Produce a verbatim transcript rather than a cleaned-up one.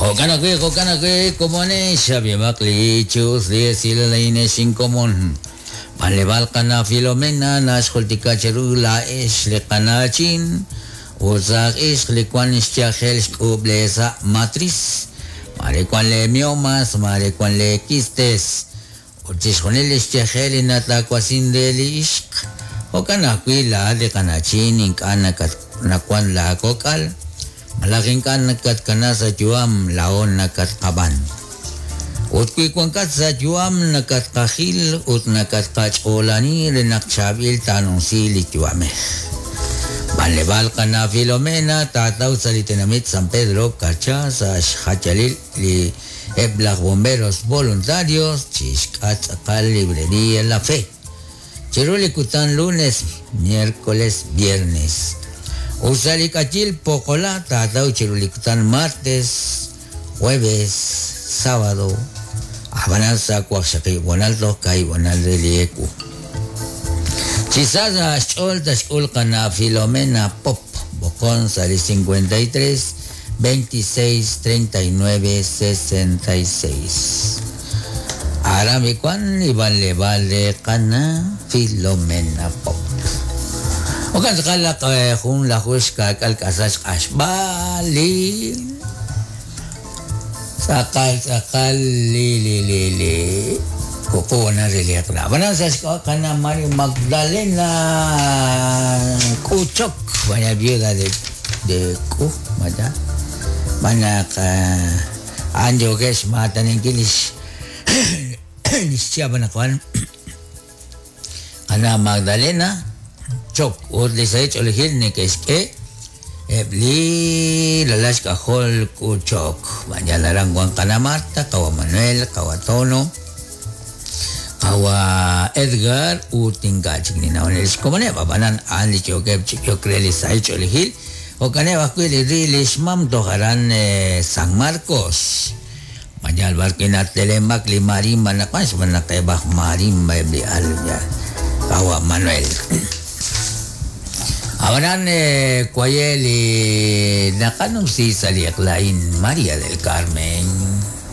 Jo'kan ajwi', jo'kan ajwi', komonex ab'imaq li chus li esilal a'in inkomon. B'anleb'aal qana Filomena naxjultika cheru laa'ex li qana'chin ut saj ixq li wan xyajel xk'uub' le sa' matriz. Mare wan le miomas, mare wan le quistes. Ut chixjunil li xyajel li natawasin re li ixq. Jo'kan ajwi' laa'at li qana'chin ink'a' nakat nawan laakok'al. Malaj ink'a' nakatkana sa' yu'am laa'o nakatqab'an. Ut wi wankat sa' yu'am nakatqajil ut nakatqach'oolani re naq chaab'il taanunsi li yu'amej. B'anleb'aal qana Filomena taataw sa' li tenamit San Pedro Carchá sa' xjachalil li eb' laj bomberos voluntarios chixk'at tz'aqal librería La Fe. Chiru li kutan lunes, miércoles, viernes. Usa li k'ayil Pokola taataw chiru li kutan martes, jueves, sábado. Ab'anan sa' waqxaqib' wanal toj kaahib' wanal re li ewu. Chi sa sa' xch'ool taxk'ul qana Filomena Pop b'oqon sa' li cincuenta y tres, veintiséis, treinta y nueve, sesenta y seis. Aran bikuan li b'anleb'aal re qana Filomena Pop. Okan tz'aqal jun lajux ka'k'al k'asal xq'axb'al li tz'aqal tz'aqal li li li li kuku na re li aqla. B'anan sa' xk'ab'a' qana María Magdalena K'uchok, vaya viuda de de K'u, vaya. B'anaq an yokex mataninkil lix lix chihab' anaqwan qana Magdalena Chok ut li sahil ch'oolejil neke'xk'e eb' li lalax k'ajol K'uchok. B'anyan aran wan qana Marta, qawa Manuel, qawa Tono, qawa Edgar ut ink'a' chik ninawon lix komoneb'. Ab'anan a'an li yookeb' chi yook re li sahil ch'oolejil. Jo'kaneb' ajwi' li ri lix mam toj aran San Marcos. B'anyan b'ar kinatelemak li marimba naqwan xb'aan naq eb' aj marimba eb' li al ya qawa Manuel. Ab'anan kuaye li naqanumsi sa' li eq'lain María del Carmen.